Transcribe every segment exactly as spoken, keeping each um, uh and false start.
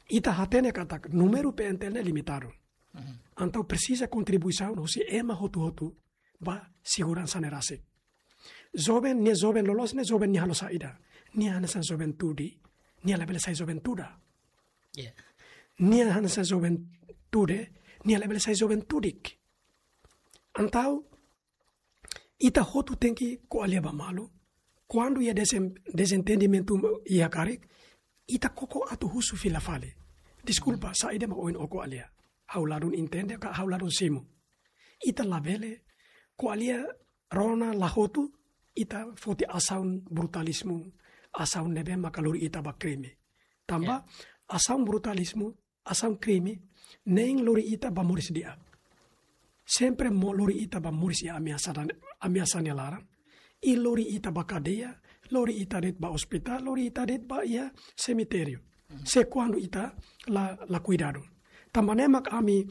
Ita hatene katak númeru P N T L ne'e limitadu. Entaun presiza kontribuisaun husi ema hotu-hotu ba seguransa ne'e rasik. Joven, nia joven loloos ne'e joven nia halo saida? Nia hanesan joven tude, nia labele sai joven tuda. Nia hanesan joven tude, nia labele sai joven tudik. Entaun ita hotu tenke ko'alia ba malu. Kuandu iha desem-, dezentendimentu iha karik, ita koko atu husu fila fali. Deskulpa, saida mak ohin ó ko'alia? Ha'u ladún entende ka ha'u ladún simu? Ita labele ko'alia rona la hotu, ita foti asaun brutalizmu, asaun ne'ebé maka lori ita ba krime. Tanba asaun brutalizmu, asaun krime, nein lori ita ba moris di'ak. Sempre mós lori ita ba moris iha ameasa dan, ameasa nia laran. I lori ita ba kadeia, lori ita de'it ba ospitál, lori ita de'it ba iha semitériu. Se kuandu ita la, la kuidadu. Tanba ne'e mak ami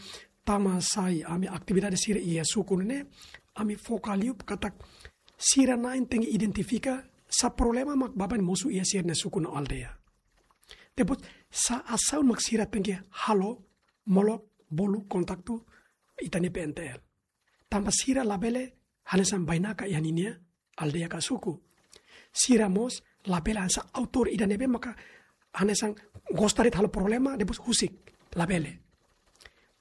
tama sai ami atividade sira iha suku ne'e, ami foka liu katak sira na'in tenke identifika sá problema mak baibain mosu iha sira-nia suku no aldeia. Depois, sá asaun mak sira tenke halo, molok, bolu kontaktu ita-nia P N T L. Tanba sira labele hanesan bainaka iha ninia aldeia ka suku. Sira mós labele hanesan autór ida ne'ebé maka hanesan gosta de'it halo problema, depois husik, labele.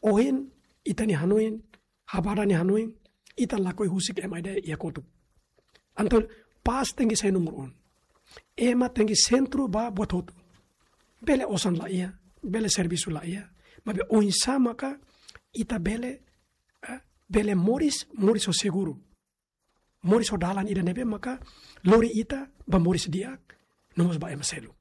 Ohin ita-nia hanoin, Habarda nia hanoin, ita lakohi husik ema ida iha kotuk. Entaun pás tenke sai númeru un. Ema tenke sentru ba buat hotu. Bele osan la iha, bele servisu la iha, maibé oinsá maka ita bele, eh, bele moris, moris ho seguru. Moris ho dalan ida ne'ebé maka lori ita ba moris di'ak, no mós ba ema seluk.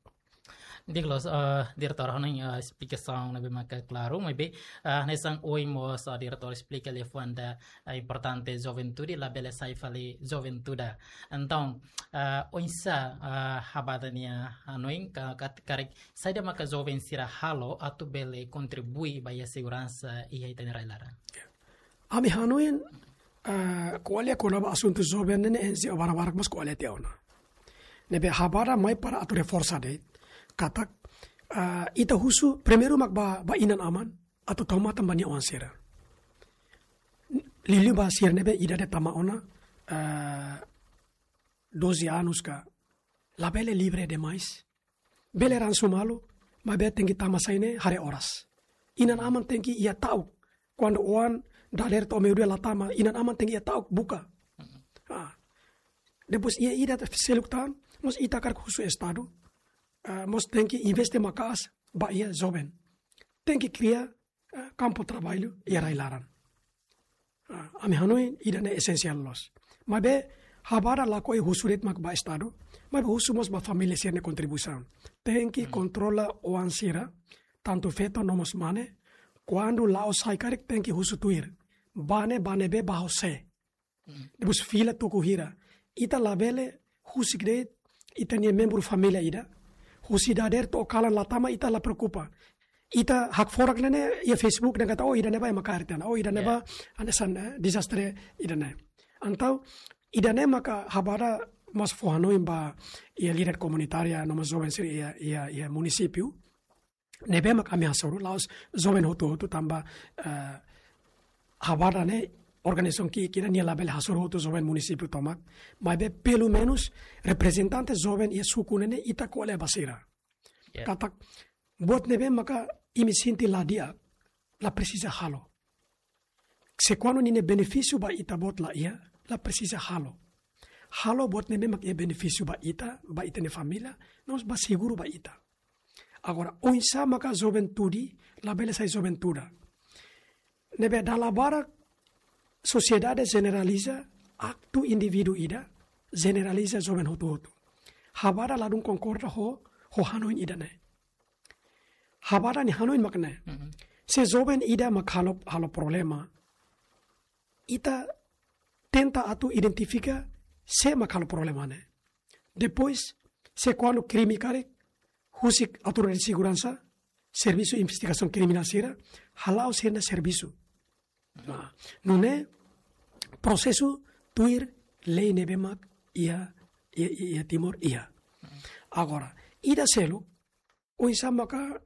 Di'ak loos, eh, diretór, hanoin, eh, esplikasaun ne'ebé maka klaru, maibé, eh, hanesan ohin mós, eh, diretór esplika liafuan ida, eh, importante juventude labele sai fali joven tuda. Entaun, eh, oinsá, eh, Habarda nia hanoin ka, ka, karik saida maka joven sira halo atu bele kontribui ba iha seguransa iha ita-nia rai-laran? Ami hanoin, eh, ko'alia kona-ba asuntu joven ne'e N G O barak-barak mós ko'alia tiha ona. Ne'ebé Habarda mai para atu reforsa de'it katak, eh, ita husu primeiru mak ba, ba inan-aman atu tau matan ba nia oan sira. Liuliu ba sira ne'ebé idade tama ona, eh, doze anos ka, labele livre demais. Bele ransu malu, maibé tenke tama sai ne'e haree oras. Inan-aman tenke iha ta'uk. Kuandu oan dadeer to'o meiudia la tama, inan-aman tenke iha ta'uk buka. Ah. Depois iha ida seluk tan, mós ita hakarak husu Estadu, ah, mós tenke investe maka'as ba iha joven. Tenke kria, ah, kampu traballu iha rai-laran. Ah, ami hanoin ida-ne'e esensiál loos. Maibé Habarda lakohi husu de'it mak ba Estadu, maibé husu mós ba família sira-nia kontribuisaun. Tenke kontrola oan sira, tantu feto no mós mane, kuandu la'o sai karik tenke husu tuir. Bá ne'e, bá ne'ebé, bá ho sé. Depois fila tuku hira. Ita labele husik de'it ita-nia membru família ida. Husi dadeer to'o kalan la tama ita la preokupa. Ita hakfodak ne'e iha Facebook dehan katak, oh, ida-ne'ebá ema kaer tiha ona. Oh, ida-ne'ebá hanesan, eh, dezastre ida-ne'e. Entaun ida-ne'e maka Habarda mós fó hanoin ba iha líder komunitária no mós joven sira iha, iha, iha munisípiu. Ne'ebé mak ami hasoru, la'ós joven hotu-hotu tanba, eh, Habarda ne'e organizasaun ki'ik ida, nia labele hasoru hotu joven munisípiu tomak. Maibé pelumenus reprezentante joven iha suku ne'e ne'e ita ko'alia ba sira. Katak buat ne'ebé maka imi sente la di'ak, la presiza halo. Se kuandu ninia benefísiu ba ita-boot la iha, la presiza halo. Halo buat ne'ebé mak iha benefísiu ba ita, ba ita-nia família, no mós ba seguru ba ita. Agora, oinsá maka joven tude labele sai joven tuda? Ne'ebé dala barak sosiedade jeneraliza aktu indivíduu ida, jeneraliza joven hotu-hotu. Habarda ladún konkorda ho, ho hanoin ida-ne'e. Habarda nia hanoin mak ne'e. Se joven ida mak halo, halo problema, ita tenta atu identifika sé mak halo problema ne'e. Depois, se kuandu krime karik, husik autoridade seguransa, servisu investigasaun kriminál sira, hala'o sira-nia servisu. Nah, nune'e prosesu tuir lei ne'ebé mak iha, iha, iha Timor iha. Agora, ida seluk, oinsá maka